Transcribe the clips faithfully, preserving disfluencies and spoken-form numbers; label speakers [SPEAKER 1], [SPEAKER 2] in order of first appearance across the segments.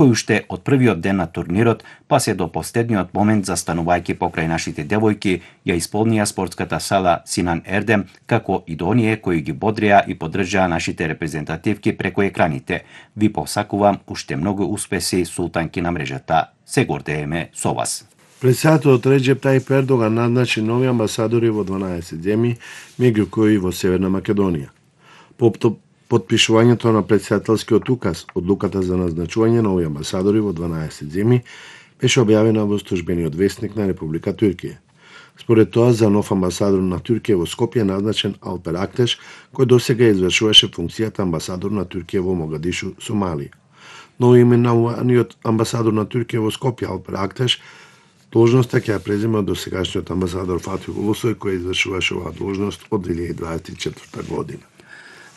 [SPEAKER 1] кој уште од првиот ден на турнирот, па се до последниот момент застанувајќи покрај нашите девојки, ја исполнија спортската сала Синан Ердем, како и до оние кои ги бодреа и поддржаа нашите репрезентативки преку екраните. Ви посакувам уште многу успеси, султанки на мрежата. Се гордееме со вас.
[SPEAKER 2] Председателот Реџеп Тајип Ердоган назначи нови амбасадори во дванаесет земји, меѓу кои во Северна Македонија. По потпишувањето на председателскиот указ, одлуката за назначување нови амбасадори во дванаесет земји беше објавена во службениот весник на Република Туркија. Според тоа, за нов амбасадор на Туркија во Скопје назначен Алпер Актеш, кој досега извршуваше функцијата амбасадор на Туркија во Могадишу, Сомалија. Новоименуваниот амбасадор на Туркија во Скопје, Алпер Актеш, должноста ќе ја презема досегашниот амбасадор Фатих Улусој, кој извршуваше оваа должност од две илјади дваесет и четврта година.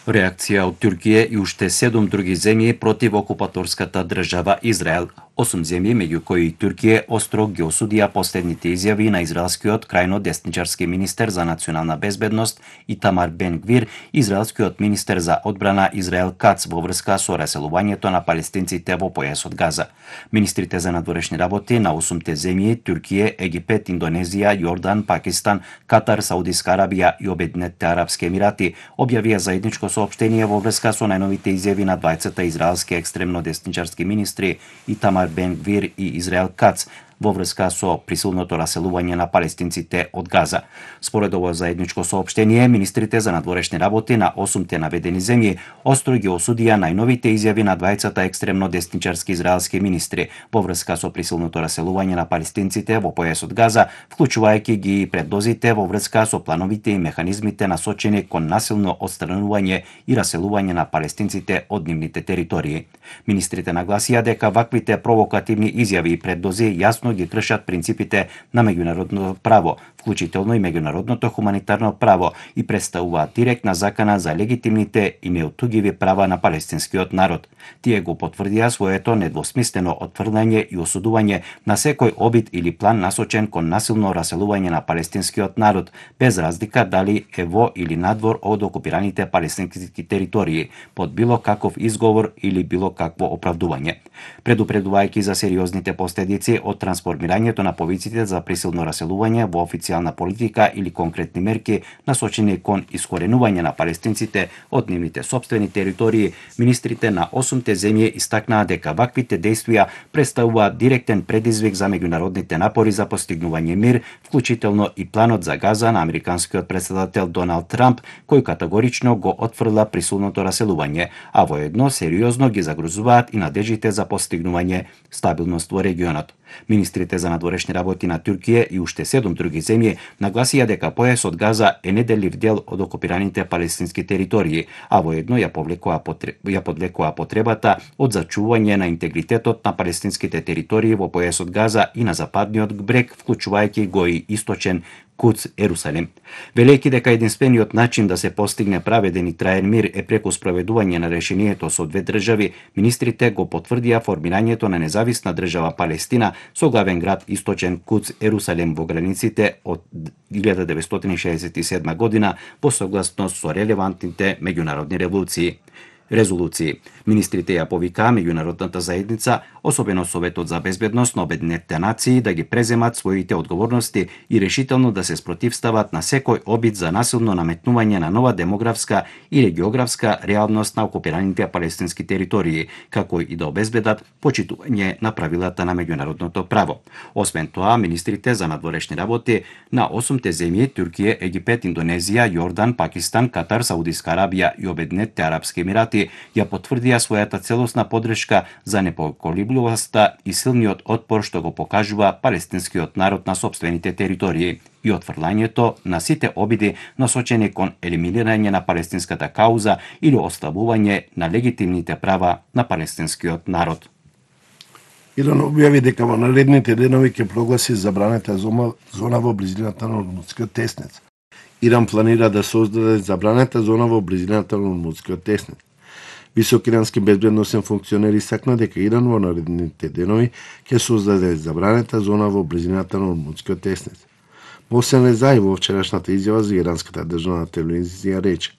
[SPEAKER 1] Реакција од Туркија и уште седум други земји против окупаторската држава Израел. Осум земји, меѓу кои Туркија, остро ги осудија последните изјави на израелскиот крајно десничарски министер за национална безбедност Итамар Бен Гвир, израелскиот министер за одбрана Израел Кац во врска со раселувањето на палестинците во појасот Газа. Министрите за надворешни работи на осумте земји Туркија, Египет, Индонезија, Јордан, Пакистан, Катар, Саудиска Арабија и Обединетите арапски емирати објавија заедничко соопштение во врска со најновите изјави на двајцата израелски екстремно десничарски министри Итамар Бен Гвир и Израел Кац во врска со присилното раселување на палестинците од Газа. Според ово заедничко соопштение, министрите за надворешни работи на осумте наведени земји остро ги осудија најновите изјави на двајцата екстремно десничарски израелски министри во врска со присилното раселување на палестинците во појасот Газа, вклучувајќи ги и предозите во врска со плановите и механизмите насочени кон насилно отстранување и раселување на палестинците од нивните територии. Министрите нагласија дека ваквите провокативни изјави и предози јасно ги кршат принципите на меѓународното право, вклучително и меѓународното хуманитарно право, и представуваат директна закана за легитимните и неотугиви права на палестинскиот народ. Тие го потврдија своето недвосмислено отфрлање и осудување на секој обид или план насочен кон насилно раселување на палестинскиот народ, без разлика дали е во или надвор од окупираните палестински територии, под било каков изговор или било какво оправдување. Предупредувајќи за сериозните последици од трансформирањето на повиците за присилно раселување во официјална политика или конкретни мерки насочени кон искоренување на палестинците од нивните сопствени територии, министрите на осумте земји истакнаа дека ваквите дејствија представуваат директен предизвик за меѓународните напори за постигнување мир, вклучително и планот за Газа на американскиот претседател Доналд Трамп, кој категорично го отфрла присилното раселување, а воедно сериозно ги загрозуваат и надежите за постигнување стабилност во регионот. Министрите за надворешни работи на Туркија и уште седум други земји нагласија дека појасот Газа е неделив дел од окупираните палестински територии, а воедно ја повлекоа ја подлекоа потребата од зачување на интегритетот на палестинските територии во појасот Газа и на западниот брег, вклучувајќи го и источен Куц, Ерусалим. Велејќи дека единствениот начин да се постигне праведен и траен мир е преку спроведување на решението со две држави, министрите го потврдија формирањето на независна држава Палестина со главен град источен Куц, Ерусалим во границите од илјада деветстотини шеесет и седма година во согласност со релевантните меѓународни револуции. Резолуции. Министрите ја повикаа меѓународната заедница, особено Советот за безбедност на Обединетите нации, да ги преземат своите одговорности и решително да се спротивстават на секој обид за насилно наметнување на нова демографска или географска реалност на окупираните палестински територии, како и да обезбедат почитување на правилата на меѓународното право. Освен тоа, министрите за надворешни работи на осумте земји Туркија, Египет, Индонезија, Јордан, Пакистан, Катар, Саудиска Арабија и Обединетите арапски емирати ја потврдија својата целосна поддршка за непоколебливоста и силниот отпор што го покажува палестинскиот народ на сопствените територии и отфрлањето на сите обиди насочени кон елиминирање на палестинската кауза или ослабување на легитимните права на палестинскиот народ.
[SPEAKER 2] Иран објави дека во наредните денови ќе прогласи забранета зона во близината на Ормудскиот теснец. Иран планира да создаде забранета зона во близината на Ормудскиот теснец. Висок ирански безбедносен функционер истакна дека Иран во наредните денови ќе создаде забранета зона во близината на Ормудскиот теснец. Мосен Резаи во вчерашната изјава за иранската државна телевизија рече: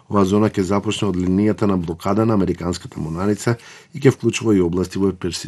[SPEAKER 2] оваа зона ќе започне од линијата на блокада на американската морнарица и ќе вклучува и области во Персискиот